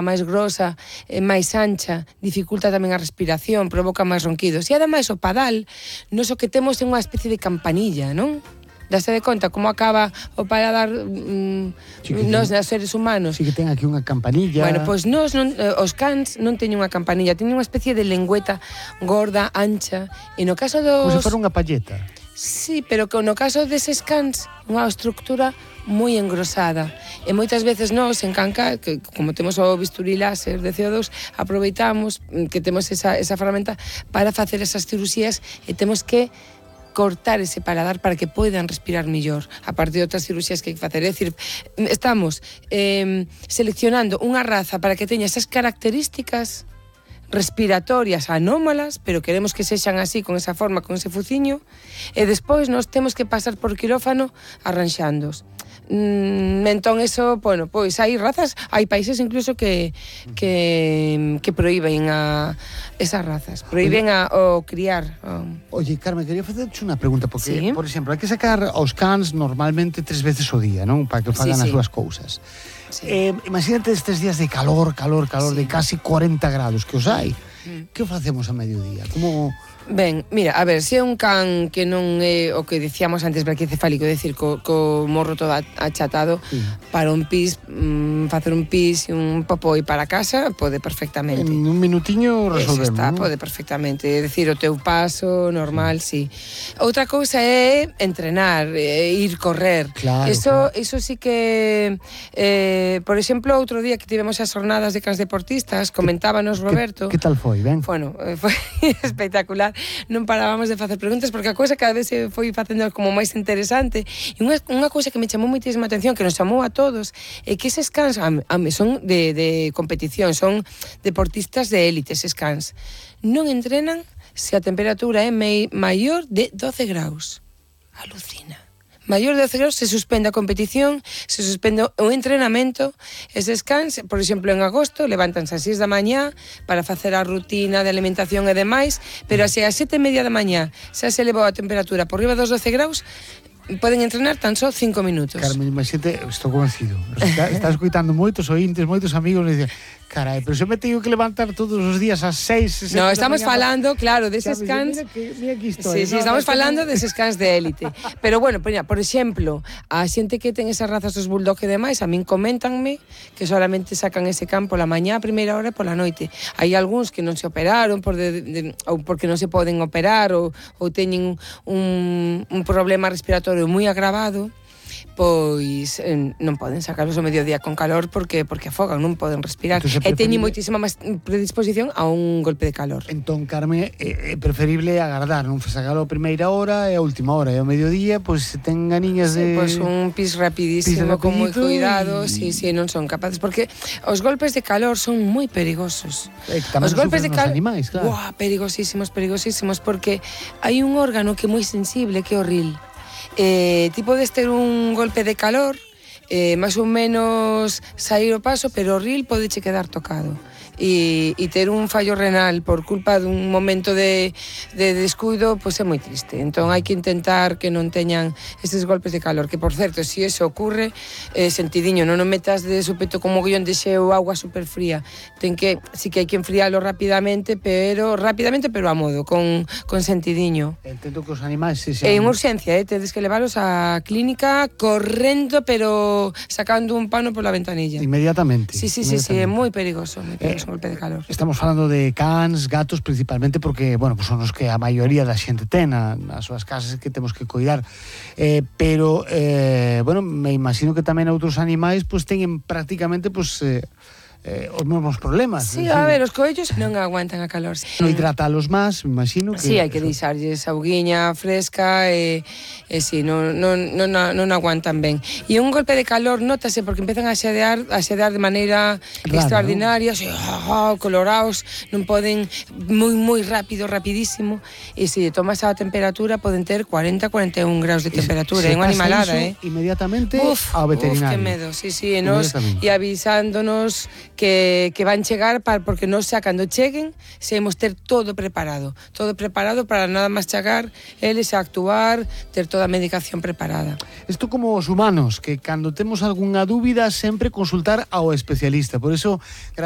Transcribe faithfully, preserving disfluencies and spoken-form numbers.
máis grosa, eh, máis ancha, dificulta tamén a respiración, provoca máis ronquidos. E ademais o padal, nos o que temos é unha especie de campanilla, non? Dase de conta como acaba o paladar mm, sí nos, os seres humanos. Sí que ten aquí unha campanilla. Bueno, pois nos, non, os cans non teñen unha campanilla, teñen unha especie de lengüeta gorda, ancha, e no caso dos... Como se fora unha palleta. Sí, pero que no caso deses cans, unha estructura moi engrosada. E moitas veces nós, en Canca, que como temos o bisturí láser de C O dos, aproveitamos que temos esa, esa ferramenta para facer esas cirurxías e temos que cortar ese paladar para que poidan respirar mellor, a parte de outras cirurxías que hai que facer. É dicir, estamos eh, seleccionando unha raza para que teña esas características respiratorias anómalas, pero queremos que sexan así, con esa forma, con ese fuciño, e despois nós temos que pasar por quirófano arranxándos. Mm, entón, eso, bueno, pois hai razas, hai países incluso que que, que prohíben a esas razas, prohíben a, o criar. O... Oye, Carmen, quería facerche unha pregunta, porque, sí. por exemplo, hai que sacar aos cans normalmente tres veces o día, non? Para que fagan sí, sí. as súas cousas. Sí. Eh, imagínate estes días de calor, calor, calor, sí. de casi cuarenta grados que os hai. Mm. Que facemos a mediodía? Como... Ben, mira, a ver, se é un can que non é o que dicíamos antes braquicefálico, é dicir, co, co morro todo achatado, sí. para un pis, mm, facer un pis e un popó e para casa, pode perfectamente. En un minutiño resolvemos. Eso está, ¿no? Pode perfectamente. É dicir, o teu paso normal, sí. sí. Outra cousa é entrenar, é ir correr. Claro, eso, claro. eso sí que, eh, por exemplo, outro día que tivemos as jornadas de cans deportistas, comentábanos Roberto. Que, que tal foi, ben? Bueno, foi espectacular. Non parábamos de facer preguntas porque a cousa cada vez se foi facendo como máis interesante. E unha, unha cousa que me chamou moitísima atención, que nos chamou a todos, é que eses cans a, a, son de, de competición, son deportistas de élite, eses cans. Non entrenan se a temperatura é mei, maior de doce graus. Alucina. Maior de doce graus se suspende a competición, se suspende o entrenamento. Eses cans, por exemplo, en agosto, levántanse ás seis da mañá para facer a rutina de alimentación e demais, pero así ás sete e media da mañá xa se elevou a temperatura por riba dos doce graus, poden entrenar tan só cinco minutos. Carmen, imagínate, estou convencido. Está, está escoitando moitos ointes, moitos amigos, e dicen, carai, pero se me teño que levantar todos os días ás seis... No, estamos falando, claro, deses cans... Mira que, mira que estoy, sí, sí, no, estamos no, falando no. deses cans de élite. Pero bueno, por, por exemplo, a xente que ten esas razas dos bulldog e demais, a min coméntanme que solamente sacan ese can pola mañá a primeira hora e pola noite. Hai algúns que non se operaron por de, de, ou porque non se poden operar ou, ou teñen un, un problema respiratorio moi agravado, pois eh, non poden sacalos ao mediodía con calor porque porque afogan, non poden respirar. Entonces, e teñen preferible... moitísima máis predisposición a un golpe de calor. Entón, Carmen, é, é preferible agardar, non sacalo a primeira hora e a última hora, e ao mediodía, pois se ten ganiñas sí, de... Pois un pis rapidísimo, pis con moi cuidado, y... sí, sí, non son capaces, porque os golpes de calor son moi perigosos. Eh, os golpes de calor, animais, claro. Uah, perigosísimos, perigosísimos, porque hai un órgano que é moi sensible, que é o ril. Eh, ti podes ter un golpe de calor, eh, máis ou menos sair o paso, pero o ril podeche quedar tocado. E, e ter un fallo renal por culpa dun momento de, de descuido, pois é moi triste. Entón hai que intentar que non teñan estes golpes de calor, que por certo, se si eso ocurre, eh, sentidiño, non o metas de súpeto con mogollón de xeo ou agua super fría. Ten que, si que hai que enfrialo rapidamente, pero rapidamente pero a modo, con, con sentidiño. Entendo que os animais se sean... É unha urxencia, eh? Tedes que leválos á clínica correndo, pero sacando un pano pola ventanilla. Inmediatamente. Sí, sí, sí, sí, é moi perigoso, moi perigoso. Eh, golpe de calor. Estamos falando de cans, gatos, principalmente porque, bueno, pues son os que a maioría da xente ten na, nas súas casas que temos que cuidar. Eh, pero, eh, bueno, me imagino que tamén outros animais pues teñen prácticamente pues eh, eh, os mesmos problemas. Sí, a ver, os coellos non aguantan a calor. Non hidratalos máis, me imagino que... Sí, hai que deixarlles auguiña fresca e, e sí, non, non, non, non aguantan ben. E un golpe de calor notase porque empezan a xedear, a xedear de maneira rara, extraordinaria, ¿no? Así, oh, colorados, non poden moi, moi rápido, rapidísimo, e se tomas a temperatura poden ter cuarenta a cuarenta e un graus de temperatura, é unha animalada, eh? Inmediatamente uf, ao veterinario. Uf, que medo, sí, sí, e, nos, e avisándonos que, que van chegar para, porque nos xa cando cheguen sabemos ter todo preparado todo preparado para nada máis chegar eles a actuar, ter toda a medicación preparada. Isto como os humanos, que cando temos algunha dúbida sempre consultar ao especialista, por eso gracias